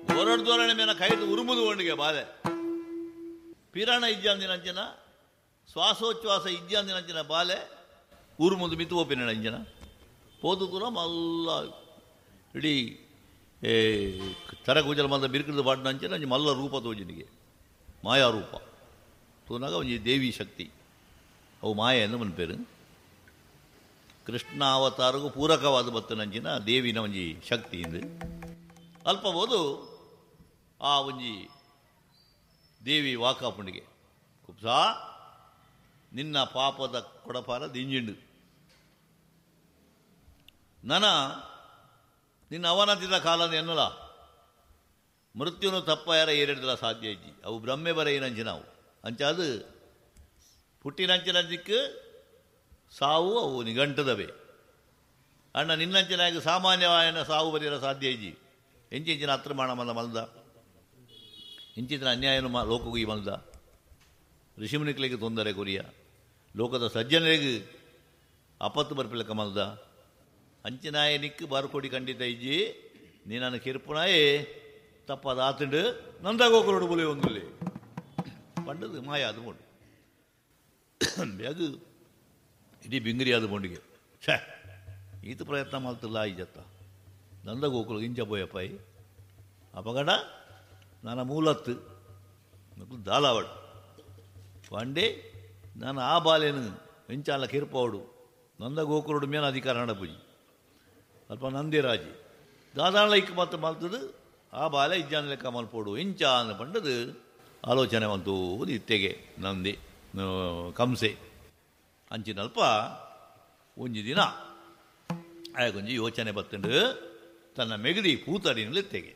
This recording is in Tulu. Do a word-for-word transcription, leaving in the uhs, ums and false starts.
ದೋರಡ್ ದೋರಣೆ ಮೇನ ಕೈದು ಉರುಮುದು ಒಂಡಿಗೆ ಬಾಲೆ ಪಿರಾಣ ಇಜ್ಜಾಂದಿನಂಚಿನ ಶ್ವಾಸೋಚ್ಛ್ವಾಸ ಇಜ್ಜಾಂದಿನಂಚಿನ ಬಾಲೆ ಉರುಮುದು ಮಿತು ಒಪ್ಪಿನ ಅಂಜನ ಪೋದು ಕೂಡ ಮಲ್ಲ ಇಡೀ ಏ ತರಗೂಜಲ ಮಲ್ಲ ಬಿರುಕದ ಬಾಡಿನ ಅಂಚಿನ ಒಂಜಿ ಮಲ್ಲ ರೂಪ ತೋಜಿನಿಗೆ ಮಾಯಾರೂಪ ತೋನಾಗ ಒಂಜಿ ದೇವಿ ಶಕ್ತಿ ಅವು ಮಾಯ ಎಂದು ಮನ್ಪೇರು. ಕೃಷ್ಣ ಅವತಾರಗೂ ಪೂರಕವಾದ ಬತ್ತನಂಚಿನ ದೇವಿನ ಒಂಜಿ ಶಕ್ತಿ ಇಂದು ಅಲ್ಪಬೋದು. ಆ ಒಂಜಿ ದೇವಿ ವಾಕಾಪುಂಡಿಗೆ ಕುಪ್ಸಾ ನಿನ್ನ ಪಾಪದ ಕೊಡಪಾರ ದಿಂಜಿಂಡು ನನ ನಿನ್ನ ಅವನತಿದ ಕಾಲದ ಎನ್ನಲ ಮೃತ್ಯುನು ತಪ್ಪ ಯಾರ ಏರಿಡ್ದಲ ಸಾಧ್ಯ ಇಜ್ಜಿ ಅವು ಬ್ರಹ್ಮೆ ಬರೆಯಿನಂಚಿನವು ಅಂಚಾದು ಪುಟ್ಟಿನಂಚಿನಂಚಿಕ್ಕು ಸಾವು ಅವು ನಿಘಂಟದವೇ. ಅಣ್ಣ ನಿನ್ನಂಚಿನಾಗ ಸಾಮಾನ್ಯವಾಯನ ಸಾವು ಬರೆಯಲ ಸಾಧ್ಯ ಇಜ್ಜಿ ಎಂಚಿಂಚಿನ ಅತ್ರಮಾಣ ಮಲ್ಲ ಮಲ್ದ ಇಂಚಿನ ಅನ್ಯಾಯನು ಮಾ ಲೋಕಗೂ ಈ ಮಲ್ದ ಋಷಿಮುನಿಗಳಿಗೆ ತೊಂದರೆ ಕೊರಿಯ ಲೋಕದ ಸಜ್ಜನರಿಗೆ ಆಪತ್ತು ಬರ್ಪಿಲಕ್ಕ ಮಲ್ದ ಅಂಚಿನಾಯನಿಕ್ಕು ಬಾರುಕೊಡಿ ಖಂಡಿತ ಇಜ್ಜಿ ನೀನನ್ನು ಕಿರ್ಪುನಾಯೇ ತಪ್ಪದ ಆತಂಡು ನಂದಾಗೋಕರೋಡು ಬುಲೆ ಒಂದುಲ್ಲಿ ಪಂಡದು ಮಾಯ ಅದು ಬೋಂಡು ಅದು ಇಡೀ ಬಿಂಗರಿ ಅದು ಬೋಂಡಿಗೆ ಛೇ ಈತ ಪ್ರಯತ್ನ ಮಾಡ್ತಿಲ್ಲ ಈಜತ್ತ ನಂದಗೋಕುಲು ಇಂಚ ಪೋಯಪ್ಪಾಯಿ ಅಪಗಡ ನನ್ನ ಮೂಲತ್ತು ದಾಲಾವಡು ಪಂಡೆ ನಾನು ಆ ಬಾಲೇನು ಎಂಚಾಲ ಕಿರ್ಪವಡು ನಂದಗೋಕುರುಡು ಮೇನ ಅಧಿಕಾರ ನಡಪುಜಿ ಅಲ್ಪ ನಂದಿರಾಜಿ ದಾದಾಳ ಇಕ್ಕ ಮಾತ್ರ ಮಲ್ತದು ಆ ಬಾಲೆ ಇಜ್ಜಾನ ಲೆಕ್ಕ ಮಲ್ಪೋಡು ಇಂಚ ಅನ್ನ ಪಂಡದು ಆಲೋಚನೆ ಬಂತು ಇತ್ತೆಗೆ ನಂದಿ ಕಂಸೆ ಅಂಚಿನಲ್ಪ ಒಂಜಿ ದಿನ ಆಯಗೊಂಜಿ ಯೋಚನೆ ಬತ್ತಂಡು ತನ್ನ ಮೆಗದಿ ಪೂತಡಿನಲ್ಲಿ ಇತ್ತೆಗೆ